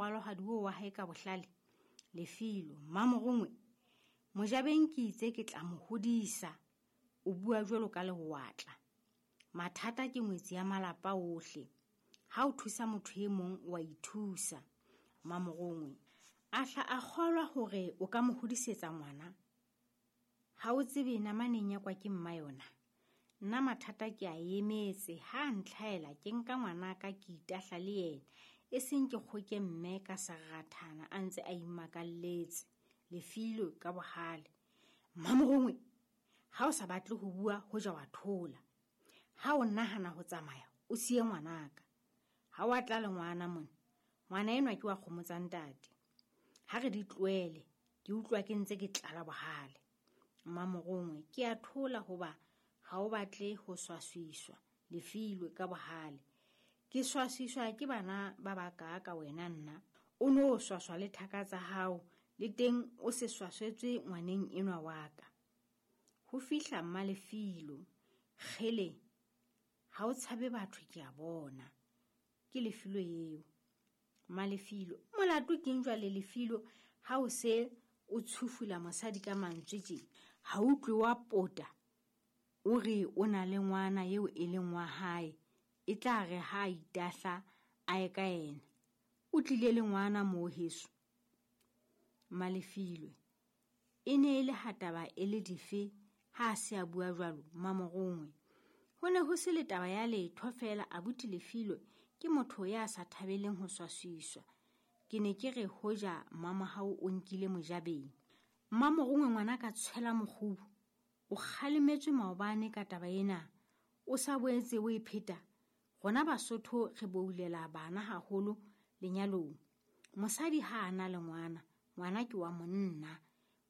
morwalohadi oo wa hae ka bohlale? Lefilo, Mmamorongwe, Mojabeng ke itse ke tla mo hodisa. O bua jwalo ka lewatla. Mathata ke ngwetsi ya malapa ohle. Ha o thusa motho e mong wa ithusa. Mmamorongwe, a hla a kgolwa hore o ka mo hodisetsa ngwana. Ha o tsebe namaneng ya kwa ke mma yona. Nna mathata ke a emetse, ha a ntlhaela ke nka ngwanaka ke itahla le yena, e seng ke kgoke mme ka serarathana a ntse a imakalletse. Lefilwe ka bohale. Mmamorongwe, ha o sa batle ho bua hoja wa thola. Ha o nahana ho tsamaya, o siye ngwanaka. Ha wa tla le ngwana mona. Ngwana enwa ke wa kgomo tsa ntate. Ha re di tlohele, ke utlwa ke ntse ke tlala bohale. Mmamorongwe, ke a thola hoba ha o batle ho swaswiswa. Lefilwe ka bohale. Ke swaswiswa ke bana ba baka ka wena nna. O no swaswa le thaka tsa hao, le teng o se swaswetswe ngwaneng enwa wa ka. Ho fihla Mmalefilo, kgele, ha o tshabe batho ke a bona. Ke Lefilo eo. Mmalefilo, molato keng jwale Lefilo ha o se o tshufula mosadi ka mantswe tje? Ha utlwe wa pota, o re o na le ngwana eo e leng wa hae, e tla re ha a itahla a ye ka yena. O tlile le ngwana moo heso. Mmalefilwe, e ne e le ha taba e le dife ha a se a bua jwalo Mmamorongwe. Ho ne ho se le taba ya letho feela abuti Lefilwe ke motho ya sa thabeleng ho swaswiswa. Ke ne ke re hoja mmamohau o nkile mojabeng. Mmamorongwe ngwana ka tshwela mokgubu. O kgalemetswe maobane ka taba ena. O sa boetse o e pheta. Rona Basotho re boulela bana haholo lenyalong. Mosadi ha a na le ngwana, ngwana ke wa monna.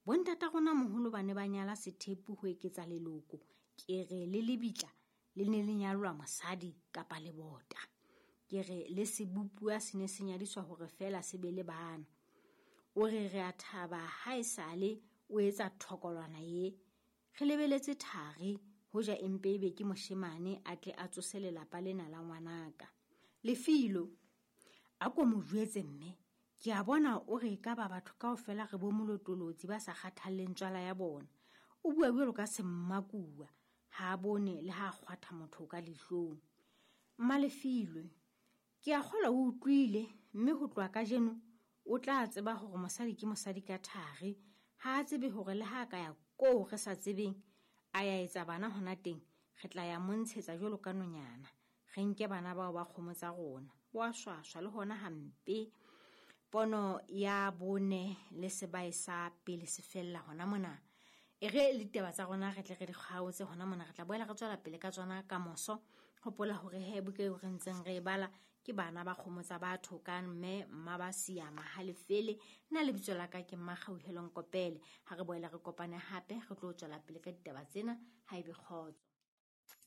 Bontata rona moholo ba ne ba nyala sethepu ho eketsa leloko. Ke re le lebitla le ne le nyalwa mosadi kapa lebota. Ke re le sebopuwa se ne se nyadiswa hore feela se be le bana. O re re a thaba ha esale o etsa thokolwana ye. Re lebeletse thari hoja empe ebe ke moshemane a tle a tsose lelapa lena la ngwanaka. Lefilo, a ko mo jwetse mme, ke a bona o re ka ba batho kaofela re bo molotolotsi ba sa kgathalleng tswala ya bona. O bua jwalo ka semmakuwa, ha a bone le ha a kgwatha motho ka leihlong. Mmalefilwe, ke a kgolwa o utlwile mme ho tloha kajeno o tla tseba hore mosadi ke mosadi ka thari. Ha a tsebe hore le ha a ka ya koo re sa tsebeng a ya etsa bana hona teng, re tla ya montshetsa jwalo ka nonyana. Re nke bana bao ba kgomo tsa rona. Wa swaswa le hona hampe. Pono ya bone le sebae sa pele se fella hona mona. E re litaba tsa rona re tle re di kgaotse hona mona, re tla boela re tswela pele ka tsona ka moso. Hopola hore he buka eo re ntseng re e bala ke bana ba kgomo tsa batho ka mme mma ba siama ha lefele. Nna lebitso la ka ke Mmakgauhelo Nkopele. Ha re boela re kopane hape re tlo tswela pele ka ditaba tsena ha ebe kgotso.